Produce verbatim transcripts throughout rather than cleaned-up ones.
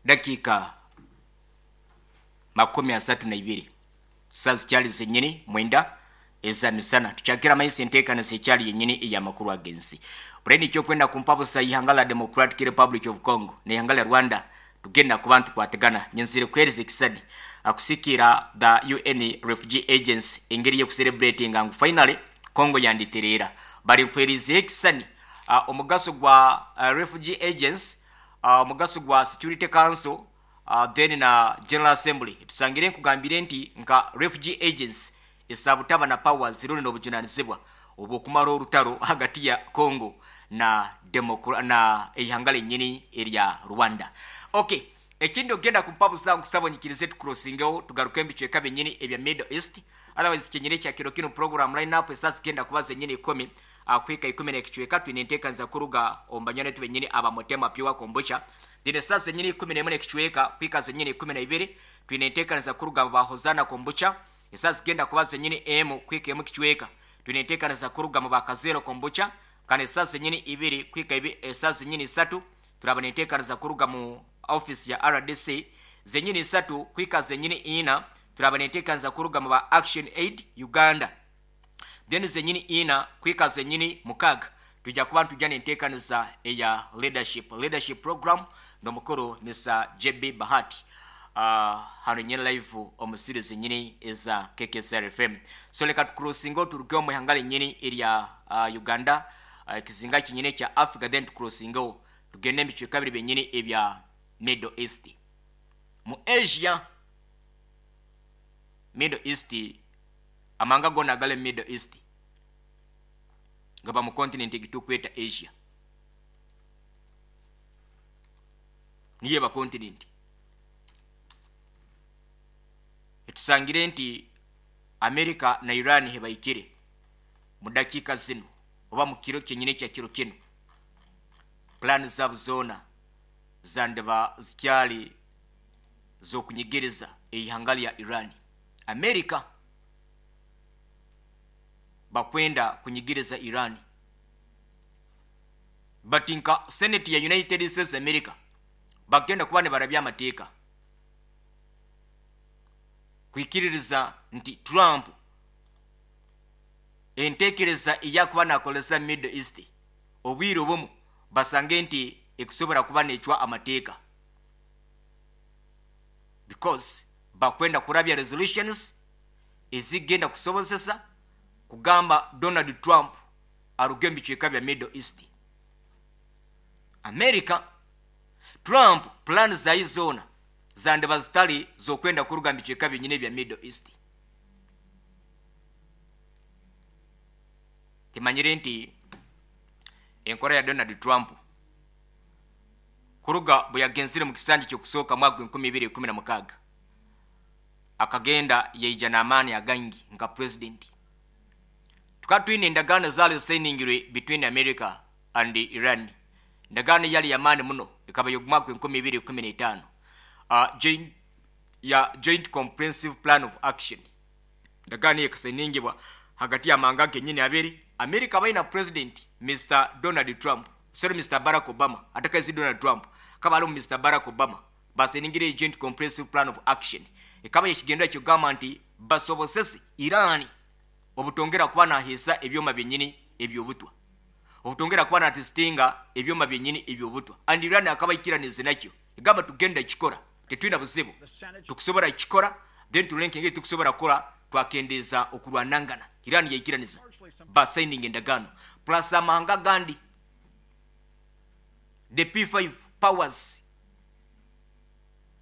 Dakiika makumi asatu na ibiri, saa zikyali zenyini mwenda eza misana. Tukyakira amaiso enteekanisa ekyali yenyini ey'amakuru ag'ensi. Bureni ekyokwenda kumpabusa ihanga la Democratic Republic of Congo n'ihanga lya Rwanda, tugenda kuba ntukwatagana. Nyenzire kuheereza ekisani akusikira the U N Refugee Agency engeri y'okucelebratinga ngu finally Congo yanditereera. Bari nkuheerizeho ekisani uh, omugaso gwa uh, Refugee Agency, uh, omugaso gwa Security Council, uh, then na General Assembly. Tusangire nkugambire nti nka Refugee Agency esabutaba na powers rundi n'obujunanizibwa obwokumara orutaro hagati ya Congo na Democra na ihanga lenyini erya Rwanda. Okay, ekindi ogenda kumpabuza, nkusaba onyikirize tucrossingeho, tugaruke ebicweka byenyini ebya Middle East. Otherwise kyenyini ekya kiro kino, program lineup, esasi zigenda kuba zenyini ikumi uh, kwika ikumi n'ekicweka twine enteekaniza kuruga omu banywani benyini aba Motema Pure Kombucha. Then esasi zenyini ikumi n'emwe n'ekicweka kwika zenyini ikumi na ibiri twine enteekaniza kuruga mu ba Hozana Kombucha. Esasi zigenda kuba zenyini emu kwika emu kicweka twine enteekaniza kuruga mu bakazero Kombucha. Kandi esasi zenyini ibiri kwika ibi, esasi zenyini isatu turaba nenteekaniza kuruga mu office ya R D C. Zenyini isatu kwika zenyini ina turaba nenteekaniza kuruga mu ba Action Aid Uganda. Then zenyini ina kwika zenyini mukaga tujja kuba ntujja nenteekaniza eya leadership leadership program n'omukuru Mister J B Bahati, uh, hano nyine live omu studio zenyini eza K K S R F M. So leka tucrossinga, turuge omu ihanga lenyini erya uh, Uganda, uh, ekizinga kinyini ekya Africa, then tucrossingeho tugende ebicweka biri byenyini ebya Middle East, mu Asia. Middle East, amanga gona agali Middle East gaba mu continent egitukweta Asia, niyo eba continent. Etusangire nti America na Iran hebaikire mu dakiika zino oba mu kiro kyenyini ekya kiro kino, plan zaabo zoona zandiba zikyali z'okunyigiriza eihanga lya Iran. America bakwenda kunyigiriza Iran, but nka Senate ya United States America bagenda kuba nibarabya amateeka kwikiririza nti Trump entekereza eyakuba nakolesa Middle East, obwire obumu basange nti ekusobola kuba necwa amateeka, because bakwenda kurabya resolutions ezigenda kusobozesa kugamba Donald Trump aruge mu bicweka bya Middle East. America, Trump plan zayi zoona zandiba zitali z'okwenda kuruga mu bicweka byenyini ebya Middle East. Timanyire nti enkora ya Donald Trump kuruga bwe yagenzire mu kisanja kyokusooka mwaka enkumi ibiri ikumi na mukaaga, akagenda yaija n'amaani agangi nka president. Tukaba twine endagaano zaali zisigningirwe between America and Iran. Endagaano yali yamaani muno, ekaba y'omwaka enkumi ibiri ikumi n'etaano, uh, joint, ya Joint Comprehensive Plan of Action. Endagaano eyo ekasigningibwa hagati y'amahanga genyini abiri. America balina president Mister Donald Trump, sorry, Mister Barack Obama, atakazi Donald Trump kaba alimu Mister Barack Obama, basigningire Joint Comprehensive Plan of Action. Ekaba ekigendera kyogamba nti basobozese Iran obutongera kuba naheesa ebyoma byenyini ebyobutwa, obutongera kuba natestinga ebyoma byenyini ebyobutwa. And Iran akaba ikiranize nakyo, egamba tugenda kikora, tetulina buzibu, tukusobola kikora. Then tulenke engeri tukusobola kukola twakendeeza okulwanangana. Iran yaikiraniza, basigning endagaano plus amahanga gandi, the P five powers,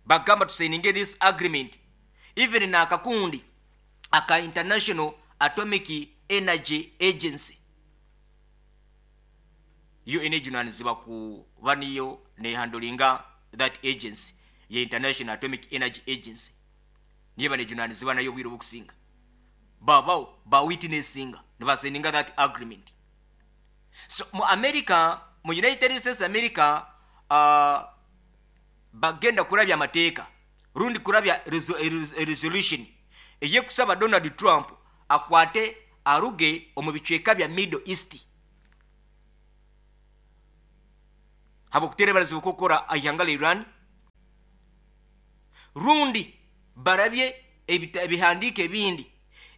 bagamba tusigninge this agreement. Even n'akakundi aka International Atomic Energy Agency yo enejunanizibwa kuba niyo nehandlinga that agency ye International Atomic Energy Agency, niyo banejunanizibwa nayo obwire obukusinga, babawo bawitnessinga nebasigninga that agreement. So mu America, mu United States America, uh, bagenda kurabya amateeka rundi kurabya reso- res- resolution eyekusaba Donald Trump akwate aruge omu bicweka bya Middle East habwokutereberezibwa kukora ihanga lya Iran. Rundi barabye ebihandiiko ebindi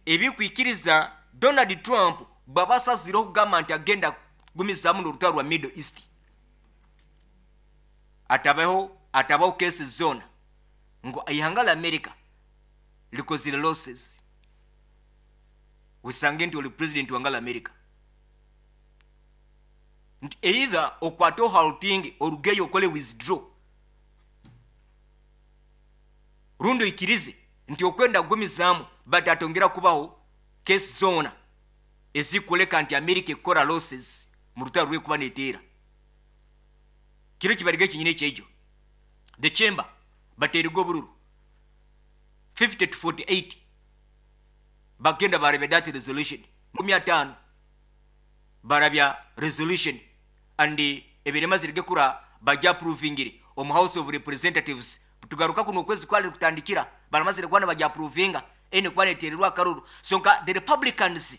ebikwikiriza Donald Trump bw'aba okugamba nti agenda kugumizaamu n'orutaro rwa Middle East, atabaho atabaho cases zoona ngu ihanga la America likozire losses. Usange nti oli president wanga la America, nti either okwate ohalting, orugeyo, okole withdraw, rundi oikirize nti okwenda kugumizaamu, but atongera kubaho case zoona ezikuleka nti America ekukora losses mu rutaro rwekuba neteera. Kiro kibariga ekinyina ekyekyo the chamber bateriga obururu fifty to forty-eight, bagenda barabya that resolution makumi ataano, barabya resolution and ebirema zirige kura bajya approvingire omu House of Representatives. Tugaruka kuno okwezi kwali kutandikira baramazire kuba bajya approvinga ene kuba netererwa akaruru. So nka the Republicans,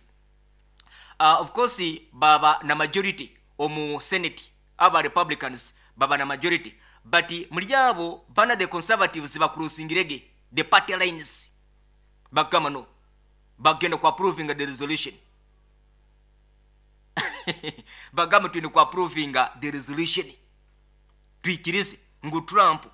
uh, of course baba na majority omu Senate, aba Republicans baba na majority, but muri abo bana the Conservatives bakurusingirege the party lines, bagamba no, bagenda ku approving the resolution, bagamba twine ku approving the resolution, twikirize ngu Trump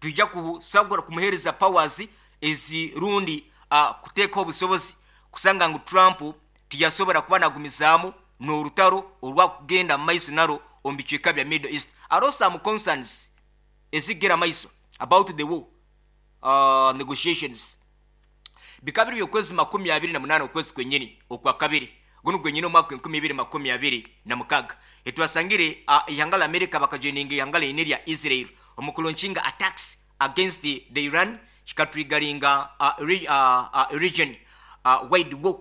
twija kusagura kumuhereza powers ezi rundi uh, kuteekaho obusobozi kusanga ngu Trump tiyasobora kuba nagumizaamu n'orutaro orwakugenda mu maiso naro omu bicweka bya Middle East. Aro some concerns ezigera maiso about the war uh, negotiations. Bikaba biri okwezi makumi abiri na munaana, okwezi kwenyini okwa kabiri guno gwenyini, omwaka enkumi ibiri makumi abiri na mukaga, etwasangire uh, ihanga la America bakajoininga ihanga line lya Israel omu kulaunchinga attacks against the, the Iran, kikatriggeringa uh, re, uh, uh, region uh, wide war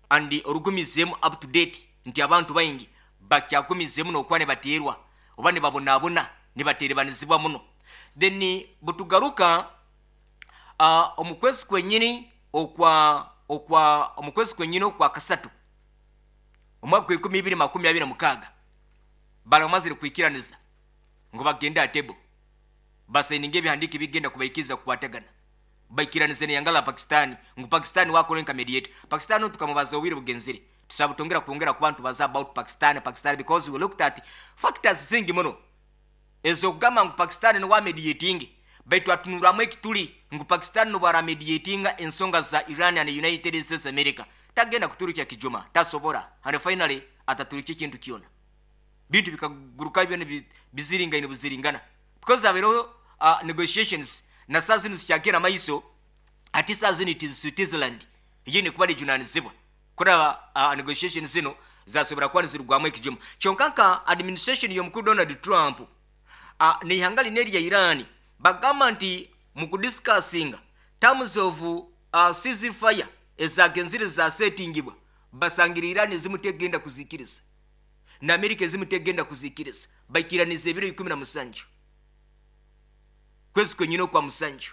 and orugumizeemu up to date, nti abantu baingi bakyagumizeemu n'okuba nibateerwa oba nibabonaabona, nibateerebanizibwa muno. Then butugaruka uh, omu kwezi kwenyini okwa okwa omu kwezi kwenyini okwa kasatu, omwaka enkumi ibiri makumi abiri na mukaaga, baramazire kwikiraniza ngu bagende aha table basayininga ebihandiiko ebigenda kubaikiriza kukwatagana, baikiranize neyanga la Pakistan ngu Pakistan wakora nka mediator. Pakistan tukamubaza obwire bugenzire, tusaba tongera kwongera kuba ntubaza about Pakistan Pakistan because we looked at factors zingi muno ezokugamba ngu Pakistan niwa mediating, baitu atunuramu ekituli ngu Pakistan nobwara mediatinga ensonga za Iran and United States America, tagenda kuturukya kijuma, tasobora, and finally ataturukya ekintu kyona, bintu bikaguruka byona biziringaine buziringana, because abereho uh, negotiations na saa zino zikyagenda maiso. Ati saa zino it is Switzerland yine kuba nijunanizibwa kuraba uh, negotiations zino zasobora kuba nizirugwamu ekijuma. Kyonka nka administration y'omukuru Donald Trump uh, n'ihanga line erya Iran bagamba nti mu kudiscussinga terms of uh, ceasefire ezagenzire zasetingibwa, basangira Iran ezimu tegenda kuzikiriza na Amerika ezimu tegenda kuzikiriza. Baikiraniza ebiro ikumi na musanju, kwezi kwenyine okwa musanju,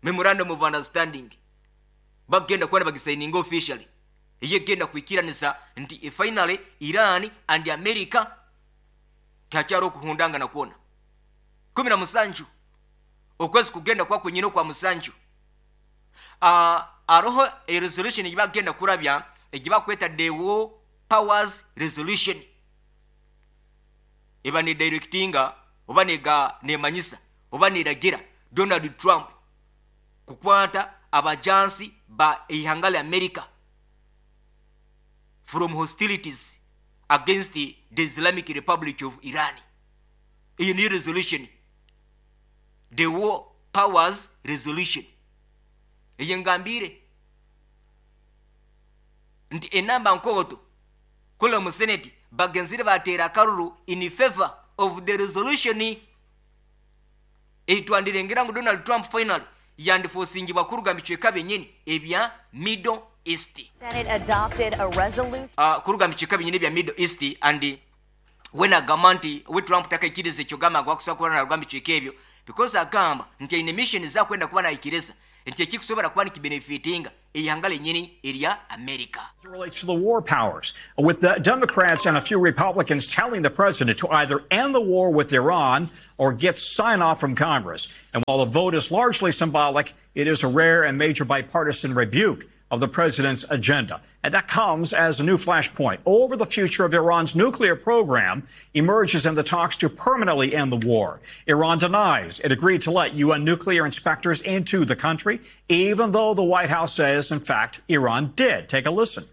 memorandum of understanding bagenda kuba bagisayininga officially, eyegenda kwikiraniza nti finally Iran and America takyari okuhundangana kwona. Kumi na musanju, okwezi kugenda kwa kwenyine okwa musanju, uh, aroho a resolution egibagenda kurabya egibakweta the War Powers Resolution, eba ne directinga oba nega nemanyisa oba neragira Donald Trump kukwata abajansi ba ihanga lya America from hostilities against the, the Islamic Republic of Iran. Iyo niyo resolution, the War Powers Resolution. Eyo ngambire nti enamba nkoto kula mu Senate bagenzire batera akaruru in favor of the resolution eitwandirengera ngu Donald Trump finally yandifosingibwa kuruga micweka byenyini ebya Middle East. Senate adopted a resolution. uh, kuruga micweka byenyini ebya Middle East, and wenagamba nti we Trump takaikiriza ekyo gamba ngu akusobola kuba naruga micweka ebyo, because agamba nti aine mission zakwenda kuba naikiriza nti ekikusobola kuba nikibenefitinga Eihanga lenyini erya America. It relates to the war powers, with the Democrats and a few Republicans telling the president to either end the war with Iran or get sign off from Congress. And while the vote is largely symbolic, it is a rare and major bipartisan rebuke of the president's agenda. And that comes as a new flashpoint over the future of Iran's nuclear program emerges in the talks to permanently end the war. Iran denies it agreed to let U N nuclear inspectors into the country, even though the White House says, in fact, Iran did. Take a listen.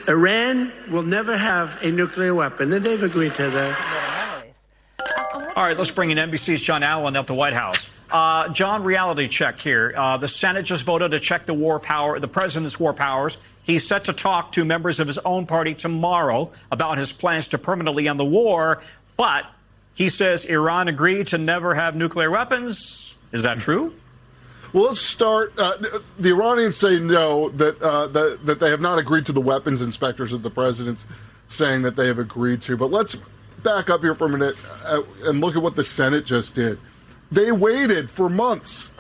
Iran will never have a nuclear weapon, and they've agreed to that. All right, let's bring in N B C's John Allen at the White House. Uh, John, reality check here. Uh, the Senate just voted to check the war power, the president's war powers. He's set to talk to members of his own party tomorrow about his plans to permanently end the war. But he says Iran agreed to never have nuclear weapons. Is that true? Well, let's start. Uh, the Iranians say no, that, uh, that that they have not agreed to the weapons inspectors that the president's saying that they have agreed to. But let's back up here for a minute uh, and look at what the Senate just did. They waited for months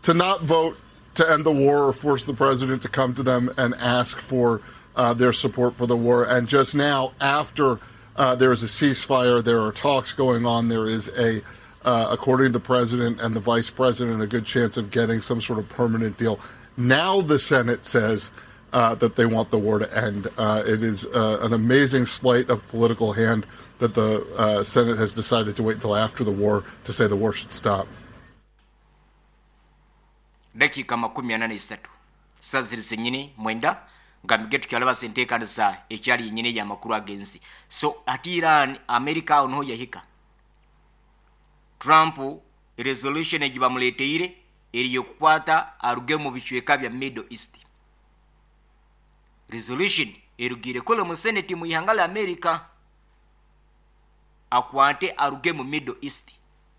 to not vote to end the war or force the president to come to them and ask for uh, their support for the war. And just now, after uh, there is a ceasefire, there are talks going on, there is a, uh, according to the president and the vice president, a good chance of getting some sort of permanent deal. Now the Senate says uh, that they want the war to end. Uh, it is uh, an amazing sleight of political hand that the uh, Senate has decided to wait until after the war to say the war should stop. Dakiika makumi ana na isatu saa ziri zenyini mwenda nga mige tukyalaba enteekanisa ekyali yenyini eyamakulu ag'ensi. So ati Iran, America awo niho yahika. Trump resolution egi bamuleteire eri yokukwata aruge mu bicweka bya Middle East. Resolution erugire kole mu Senate mu ihanga la America, akwate aruge mu Middle East.